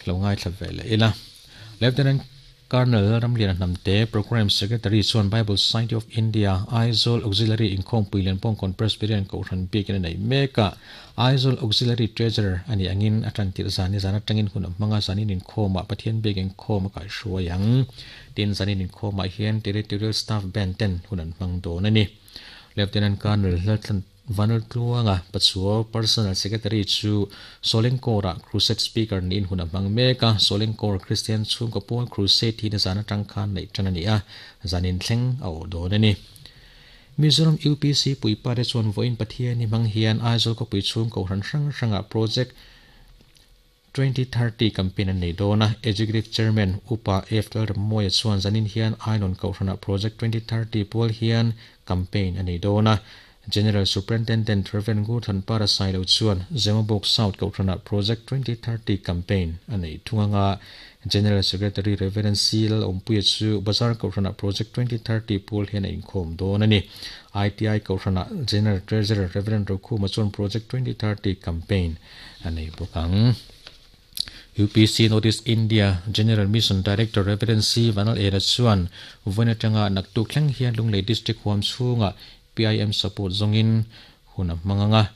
Lo ngaithla ve leh ila. Lieutenant Colonel Ramliana Hnamte, Programme Secretary chuan Bible Society of India, Aizawl Auxiliary Inkhawmpui Lianpawng Presbyterian Kohhran biakin a nei mek a. Aizawl Auxiliary Treasurer a nih angin a tan tirh zan ni zan atangin hun a hmang a, zanin inkhawmah Pathian biak inkhawm a kaihhruai ang. Tin, zanin inkhawmah hian Territorial Staff Band ten hun an hmang dawn a ni. Lieutenant Colonel Lalthlan Vanlaltluanga Pachuau Personal Secretary chu Solengkawr-ah Crusade Speaker niin hun a hmang mek a, Solengkawr Kristian chhungkaw pawl Crusade hi nizan atang khan neih tan a ni a, zanin thleng a awh dawn a ni. Mizoram UPC puipa te chuan vawiin Pathian hi hmang hian Aizawl khawpui chhung kohhran hrang hrangah Project 2030 campaign an nei dawn a, Executive Chairman Upa F Lalrammawia chuan zanin hian Ainawn Kohhranah Project 2030 pual hian campaign a nei dawn a, General Superintendent Rev Ngurthan Para Sailo chuan Zemabawk South Kohhranah Project 2030 campaign a nei thung anga General Secretary Rev C Lalawmpuia chu Bazar Kohhranah Project 2030 pual hian a inkhawm dawn a ni. ITI Kohhranah General Treasurer Rev Rokhuma chuan Project 2030 campaign a nei bawk ang. UPC North East India General Mission Director Rev. C. Vanal Era chuan vawiin atanga naktuk thleng hian Lunglei District huam chhungah PIM support zawngin hun a hmang ang a.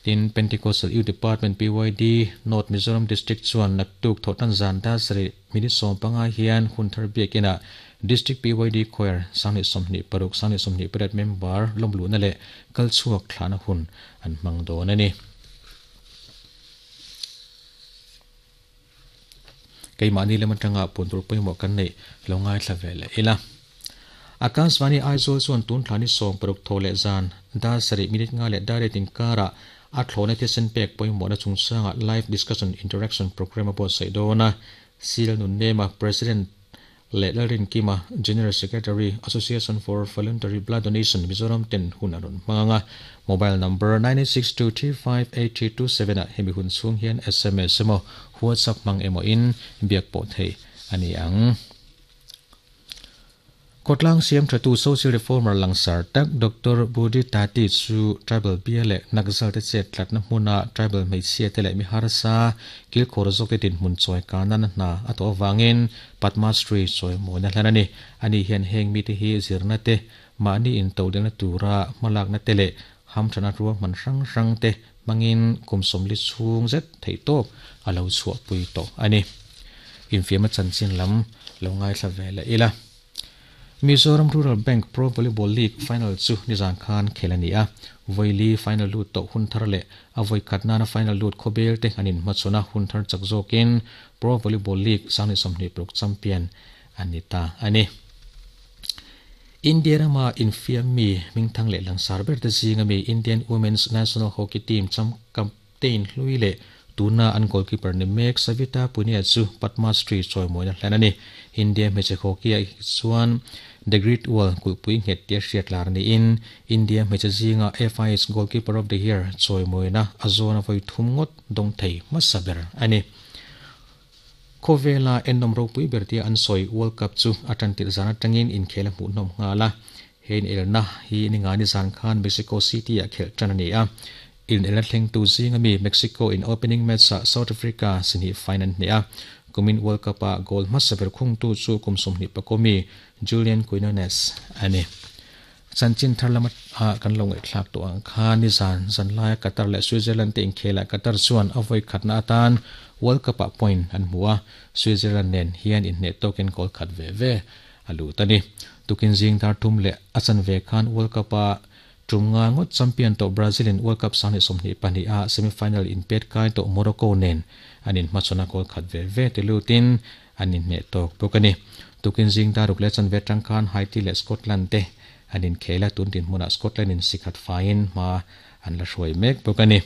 Tin, Pentecostal Youth Department, PYD, North Mizoram District chuan naktuk thawhtan zan dar sarih minute 15 hian hun thar biakinah District PYD Choir 2026, 2028 member lawmluhna leh kalchhuak thlahna hun an hmang dawn a ni. Keimahni lem atanga puan tur pawimawh kan neih lo ngaithla ve leh ila. Akashvani Aizawl chuan tun thla ni 16 thaw leh zan dar sarih minute nga leh dar riat inkarah a thlawhna thisen pek pawimawhna chungchangah live discussion interaction programme a buatsaih dawn a. Sil Nunnema, President leh Lalrinkima, General Secretary, Association for Voluntary Blood Donation, Mizoram ten hun a rawn hmang a. Mobile number 9862358327 ah hemi hun chhung hian sms emaw WhatsApp hmang emaw in biak pawh theih a ni ang. Khawtlang siam thatu social reformer langsar tak Doctor Budi Tati chu tribal bia leh Naxal te chet tlatna hmuna tribal hmeichhia te leh mi harsa kilkhawr zawk te dinhmun chawi karna hna a tawh avangin Padma Shri chawi mawina hlan a ni. Ani hian heng mite hi zirna te, mahni intodelhna tura hmalakna te leh hamthana ruahman hrang hrang te hmangin kum sawmli chhung zet theihtawp a lo chhuahpui tawh a ni. Infiamna chanchin lam lo ngaithla ve leh ila. Mizoram Rural Bank Pro Volleyball League final chu nizan khan khel a ni a. Vawi final lut tawh hun thar leh a vawi khat nana final lut khawbel te an inhmachhawn a, hun thar chak zawkin Pro Volleyball League 2026 champion a ni ta a ni. India rama infiam mi hmingthang leh langsar ber te zinga mi Indian Women's National Hockey Team captain hlui leh tuna an goalkeeper ni mek Savita Punia chu Padma Shri chawimawina hlan a ni. India hmeichhe hockey ah chuan The Great Wall kulhpui nghet tia hriat lar niin India hmeichhe zinga FIH Goalkeeper of the Year chawimawina a zawn a vawi thum ngawt dawng thei hmasa ber a ni. Khawvela ennawm ropui ber tia an sawi World Cup chu a tan tirh zan atangin inkhel a hmuhnawm nghal a. He inelna hi ningani zan khan Mexico City ah khelh tan a ni a. Inelna thlengtu zinga mi Mexico in opening match ah South Africa sihnih fine an hneh a. Kumin World Cup ah goal hmasa ber khungtu chu kum 21 mi Julian Quinones a ni. Chanchin thar lama ah kan lo ngaihthlak tawh ang kha nizan zanlaia Qatar leh Switzerland te inkhelah Qatar chuan a vawi khatna atan World Cup ah point an hmu a, Switzerland nen hian inhneh tawkin goal khat ve ve a lut a ni. Tukin zing dar thum leh a chanve khan World Cup ah tum nga ngawt champion tawh Brazil in World Cup 2022 ah semi-final inpet kai tawh Morocco nen an inhmachhawn a goal khat ve ve te lutin an inhneh tawk bawk a ni. Tukin zing dar ruk leh chanve atang khan Haiti leh Scotland te an inkhel a, tun dinhmunah Scotland in sikhat faiin hma an la hruai mek bawk a ni.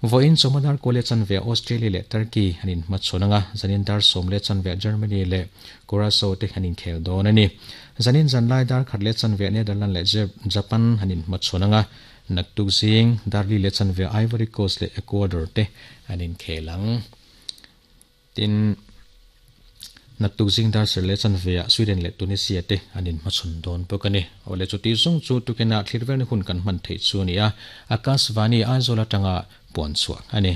Vawiin chawhma dar kaw leh chanve Australia leh Turkey an inhmachhawn ang a, zanin dar sawm leh chanve Germany leh Curacao te an inkhel dawn a ni. Zanin zanlai dar khat leh chanve Netherlands leh Japan an inhmachhawn ang a, naktuk zing dar li leh chanve Ivory Coast leh Ecuador te an inkhel ang. Tin, naktuk zing dar ser leh chanve ah Sweden leh Tunisia te an inhmachhawn dawn bawk a ni. Awle chuti zawng chu tukinah thlir velna hun kan hman theih chu a ni a, Akashvani Aizawl atanga puan chhuah a ni.